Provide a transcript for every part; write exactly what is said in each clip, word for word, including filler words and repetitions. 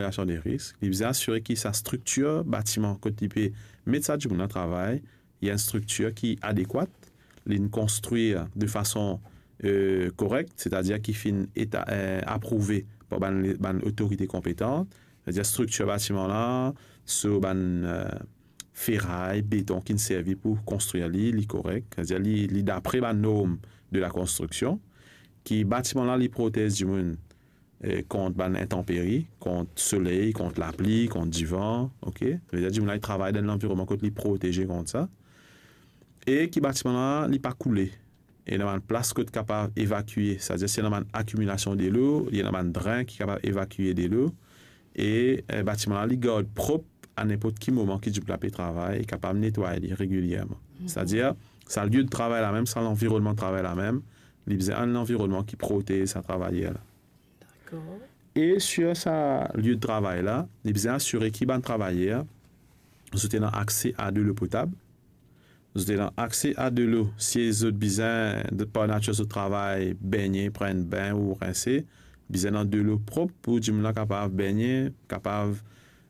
Kalkilsyon de risk, li bizin asire ki sa striktir batiman kot li pe met sa dimoun la travay, li enn striktir ki adekwat, li konstrir de fason, eh, korek, setadir ki finn eta-, eh, aprouve par bann, bann otorite konpetan, setadir striktir batiman la, so bann, eh, feray, beton ki'nn servi pou konstrir li, li korek, setadir li, li dapre bann norm de la konstriksion, ki batiman la, li protez dimoun, eh, kont bann intanperi, kont soley, kont lapli, kont divan, ok? Savedir dimoun la, li travay dan enn lanvironman kot li proteze kont sa. E ki batiman la, li pa koule. Ena bann plas kot kapav evakie, setadir si ena bann akimilasion delo, li ena bann dren ki kapav evakie delo. E, eh, batiman la, li gard prop a ninport ki moman ki dimoun la pe travay, li kapav netway li regilierman. Mhm. Setadir, sa lie de travay la mem, sa lanvironnman travay la mem, li bizin enn lanvironnman ki protez sa travayer la. Dakor. E sir sa lie de travay la, li bizin asire ki bann travayer, zot ena akse a delo potab, zot ena akse a delo, si zot bizin, de, par natir zot travay, bengne, pran enn bin ou rinse, bizin ena delo prop pou dimoun la kapav bengne, kapav,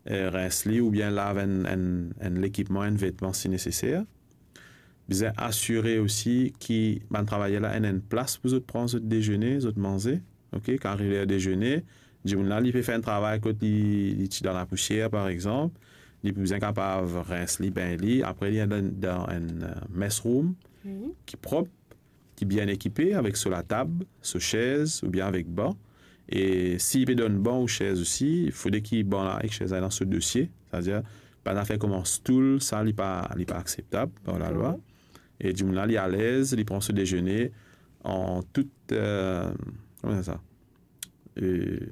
eh, rins li oubien lav enn, enn, enn lekipman, enn vetman si neseser. Bizin asire osi ki bann travayer la ena enn plas pou zot pran zot dezene, zot manze. Ok, kan ariv ler dezene, dimoun la, li pe fer enn travay kot li, li ti dan lapousier, par exanp, li pou bizin kapav rins li, bengn li, apre li al dan, dan enn, eh, mess room, wi, ki prop, ki bien ekipe, avek so latab, so sez, oubien avek ban. E si li pe donn ban ou sez osi, fode ki ban la ek sez la dan so dosie, setadir, bann zafer kouma stoul, sa, li pa, li pa akseptab par lalwa. Dakor. E dimoun la, li alez, li pran so dezene an tout, eh, kouma sa? Eh,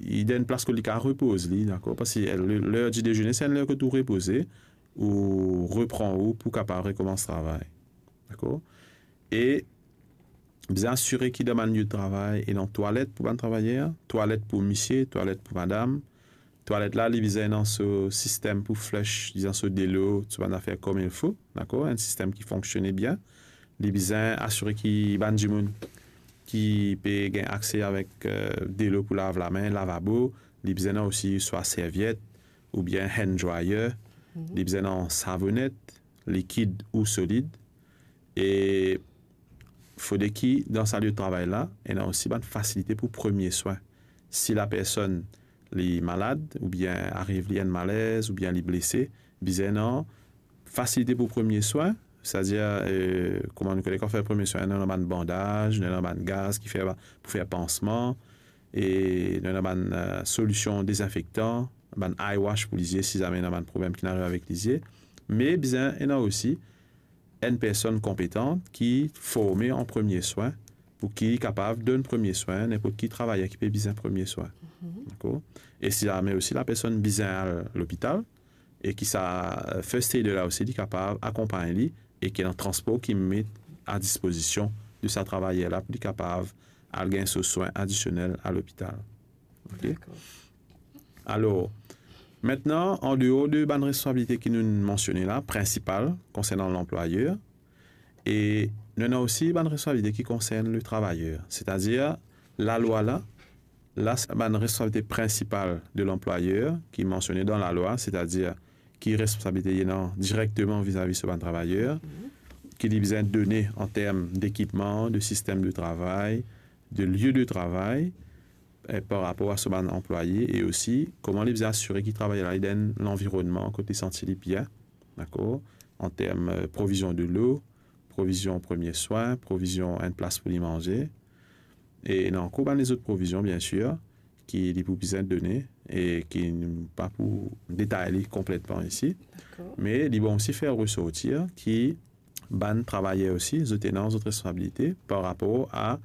li dan enn plas kot li kapav repoz li, dakor? Parski le, ler di dezene, se enn ler kot ou repoze, ou repran ou pou kapav rekoumans travay. Dakor? E bizin asire ki dan bann lie de travay, ena twalet pou bann travayer, twalet pou misie, twalet pou madam. Twalet la, li bizin ena so sistem pou flush, dizon so delo, so bann zafer comme il faut, dakor? Enn sistem ki fonksione bien. Li bizin asire ki bann dimoun ki pe gagn akse avek, eh, delo pou lav lame, lavabo, li bizin ena osi swa serviet oubien hand dryer, mhm, li bizin ena savonet, likid ou solid. E fode ki dan sa lie de travay la, ena osi bann fasilite pou premie swin. Si lapersonn li malad, oubien ariv li enn malez, oubien li blese, bizin ena fasilite pou premie swin, setadir, eh, kouma nou kone kan fer premie swin, nou ena bann bandaz, nou ena bann gaz ki fer, pou fer pansman, e nou ena bann, eh, solision dezinfektan, bann eye wash pou lizie, si zame ena bann problem ki arive avek lizie. Me bizin ena osi enn personn konpetan ki forme an premie swin, pou ki li kapav donn premie swin, ninport ki travayer ki pe bizin premie swin. Mhm. Dakor? E si zame osi lapersonn bizin al lopital, e ki sa, eh, first aider la osi, li kapav akonpagn li, e ki ena transpor ki met a dispozision de sa travayer la pou li kapav al gagn so swin adisionel a lopital. Ok? Dakor. Alor, aster, an deor de bann responsabilite ki nou mansione la, prinsipal, konsernan lanplwayer, e nou ena osi bann responsabilite ki konsern le travayer, setadir lalwa la, la, bann responsabilite prinsipal de lanplwayer ki mansione dan lalwa, setadir ki responsabilite li ena direkteman vizavi so bann travayer, mhm, ki li bizin done an term dekipman, de sistem de travay, de lie de travay, eh, par rapor a so bann anplwaye, e osi kouma li bizin asire ki travayer la, li dan enn lanvironnman kot li santi li bien, dakor? An term, eh, provizion delo, provizion premie swin, provizion enn plas pou li manze. E ena ankor bann lezot provizion, biensir, ki li pou bizin done e ki nou pa pou detay li konpletman isi. Dakor. Me li bon osi fer resortir ki bann travayer osi, zot ena zot responsabilite par rapor a,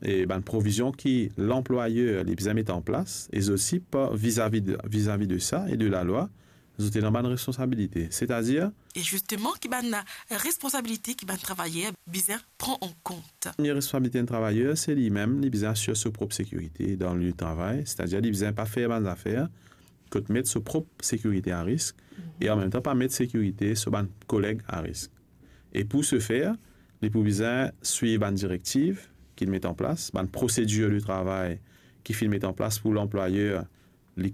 e, bann provizion ki lanplwayer li bizin met an plas, e zot osi par, vizavi de, vizavi de sa e de lalwa, zot ena bann responsabilite. Setadir, e zisteman, ki bann responsabilite ki bann travayer bizin pran an kont? Premie responsabilite enn travayer, se limem, li bizin asir so prop sekirite dan lie de travay, setadir li bizin pa fer bann zafer kot met so prop sekirite a risk, mhm, e anmemtan pa met sekirite so bann koleg a risk. E pou se fer, li pou bizin swiv bann direktiv ki met an plas, bann prosedir de travay ki finn met an plas pou lanplwayer Li